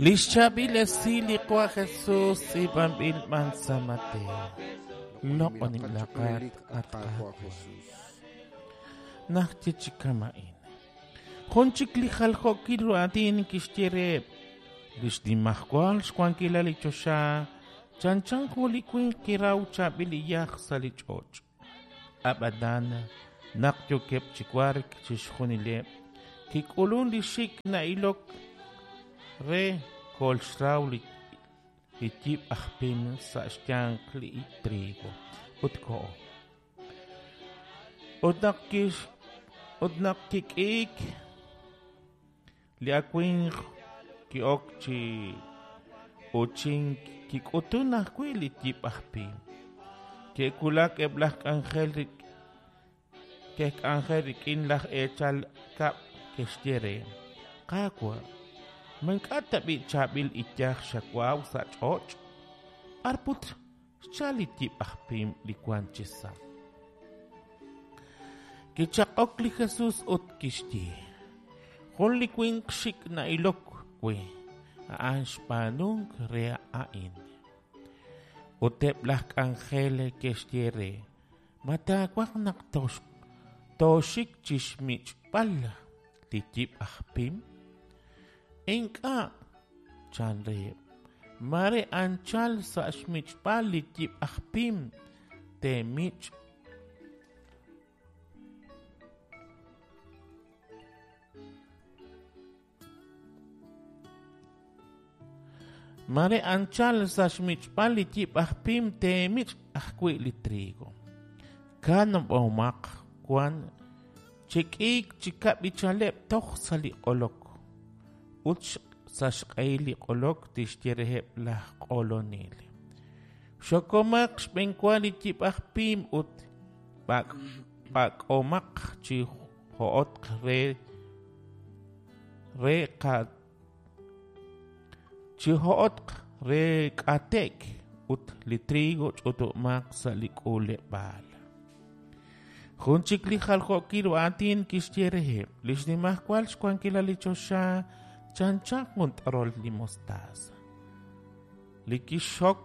Lix chaab'il esil li Qaawa' Jesus tz'iib'anb'il b'an sa' Mateo. Loq'oninb'ilaqat, at Qaawa' Qaawa'. Jesus. Najye chi kama'in. Jun chik li jaljookil ru aatin kixye reheb' li xnimajwal xwankilal li choxa chanchan jun li winq kiraw chaab'il iyaj sa' li ch'och'. Ab'anan naq yookeb' chi wark chixjunileb', kik'ulun li xik' na'ilok re kolxraw li li yib' aj pim sa' xyanq li trigo ut koho. Ut naq kix ut naq kik'iik li awimq ki'ok chi uuchink kik'utun ajwi' li yib' aj pim. Ke'wulak eb' laj k'anjel ke'k'anjel rik'in laj eechal kab' ke'xye re: Qaawa', ma ink'a' tab'i' chaab'il iyaj xawaw sa' ch'och'? B'ar put xchalk li yib' aj pim li wank chisa'? Kichaq'ok li Jesus ut kixye: Jun li winq xik' na'ilok we, a'an xb'aanunk re a'in. Ut eb' laj k'anjel ke'xye re: Ma taawaj naq tooxik chi xmich'b'al li yib' aj pim? Ink'a', chan reheb', mare anchal sa' xmich'b'al li yib' aj pim teemich' Mare anchal sa' xmich'b'al li yib' aj pim teemich' ajwi' li trigo. Kanab'omaq wan chek'iik chi kab'ichaleb' toj sa' li q'olok. Ut sa' xq'ehil li q'olok tixye reheb' laj q'olonel: Xokomaq xb'enwa li yib' aj pim ut b'ak'omaq chi jo'otq re re qa chi jo'otq re k'ate'k ut li trigo ch'utumaq sa' li k'uuleb'aal. Jun chik li jaljookil ru aatin kixye reheb' li xnimajwal xwankilal li choxa chanchan jun t'orol li mostaza. Li kixxok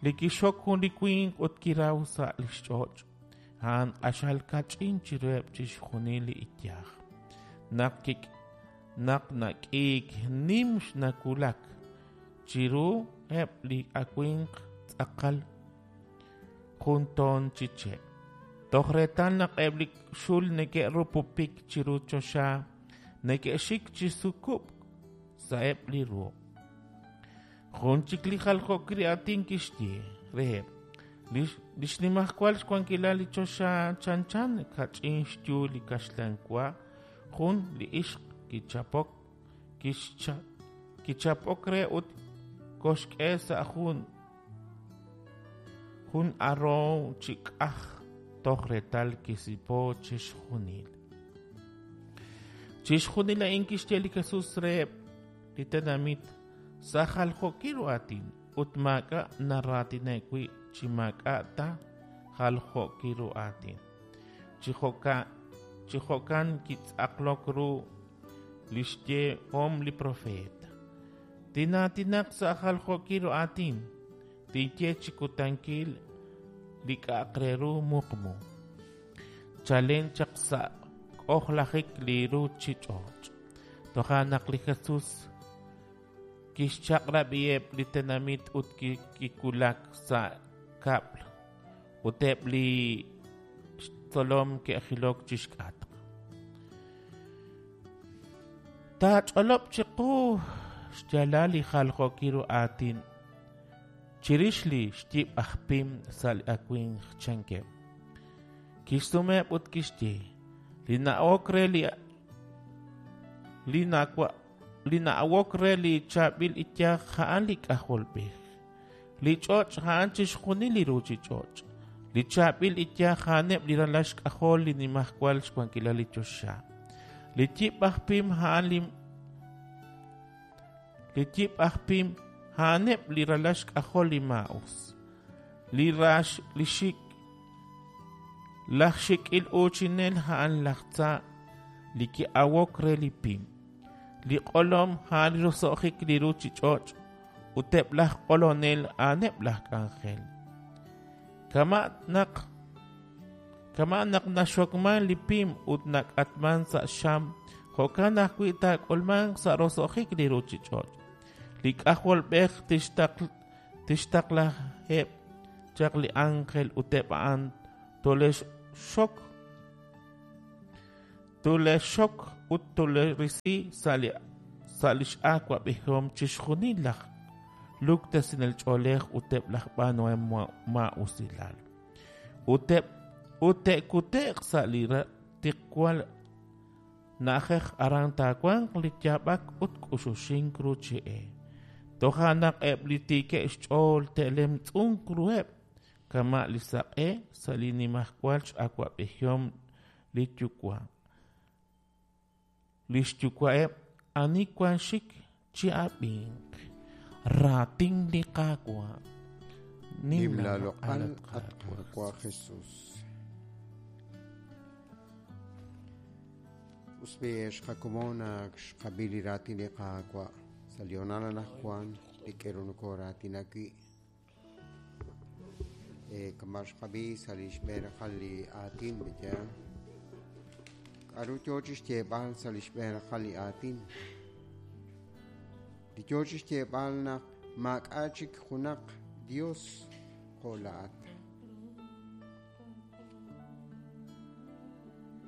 li kixxok jun li winq ut kiraw sa' li xch'och', a'an q'axal kach'in chiruheb' chixjunil li iyaj. Naq kik naq nak'iik nim xnawulak chiru eb' li awimq tz'aqal jun toon chi che'. Toj reetal naq eb' li xul neke'rupupik chiru choxa neke'xik chi sukub'k sa'eb' li ruq'. Jun chik li jaljookil aatin kixye reheb' li xnimajwal xwankilal li choxa chanchan kach'in xyu li kaxlan wa jun li ixq kichapok kichapok re ut koxk'e sa' jun jun aroow chi k'aj toj reetal kisipo chixjunil. Chixjunil a'in kixye li Jesus reheb' li tenamit sa' jaljookil ru aatin ut maak'a' naraatineb' wi' chi maak'a' ta jaljookil ru aatin. Chi jo'kan kitz'aqlok ru li xyehom li propeet: Tinaatinaq sa' jaljookil ru aatin, tinye chi kutankil li k'a'aq re ru muqmu. Chalen chaq sa' k'ojlajik li ruuchich'och'. Toja' naq li Jesus kixchaq'rab'iheb' li tenamit ut kiwulak sa' kab'l ut eb' li xtzolom ke'jilok chi xk'atq. Taach'olob' chiqu xyaalal li jaljookil ru aatin chirix li xyib' aj pim sa' li awimq, chankeb'. Kixsumeheb' ut kixye: Li na'ok re li li na'awok re li chaab'il iyaj a'an li K'ajolb'ej. Li ch'och' a'an chixjunil li ruuchich'och'. Li chaab'il iyaj a'aneb' li ralal xk'ajol li nimajwal xwankilal li choxa. Li yib' aj pim a'an li li yib' aj pim a'aneb' li ralal xk'ajol li maa'us. Li rax li xik laj xik'il uuchinel a'an laj tza li ki'awok re li pim. Li q'olom a'an li roso'jik li ruuchich'och' ut eb' laj q'olonel a'aneb' laj k'anjel. Kama' naq kama' naq naxokmank li pim ut nak'atmank sa' xam, jo'kan ajwi' taak'ulmanq sa' roso'jik li ruuchich'och'. Li K'ajolb'ej tixtaqlaheb' chaq li ánjel ut eb' a'an tole'xxok tole'xxok ut tole'risi sa' li sa' li x'awab'ejihom chixjunil laj luktesinel ch'oolej ut eb' laj b'aanuhom maa'usilal. Ut eb' ut te'kute'q sa' li tiqwal na'ajej aran taawanq li yaab'ak ut k'uxuxink ruuchi e. Toja' naq eb' li tiikeb' xch'ool te'lemtz'unq ruheb' kama' li saq'e sa' li nimajwal x'awab'ejihom li Yuwa'. Li xyuwa'eb' ani wank xik chi'ab'inq. Raatin li Qaawa'. Nim laaloq'al, at Qaawa' Jesus. Us b'i' ex qakomon ak xqab'i li raatin li Qaawa' sa' li hoonal anaqwan li k'eru nokooraatina wi'. Kama' xqab'i sa' li xb'een raqal li aatin, pe'yaal? K'aru yoo chi xyeeb'al sa' li xb'een raqal li aatin? Li yoo chi xyeeb'al naq maak'a' chik junaq Dios jo' laa'at.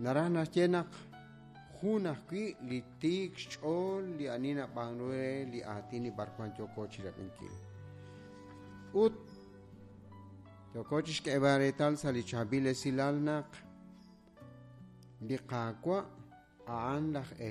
Naraj naxye naq jun ajwi' li tiik xch'ool li ani nab'aanu re li aatin li b'arwan yooko chirab'inkil. Ut yooko chixk'eeb'al reetal sa' li chaab'il esilal naq li Qaawa' a'an laj.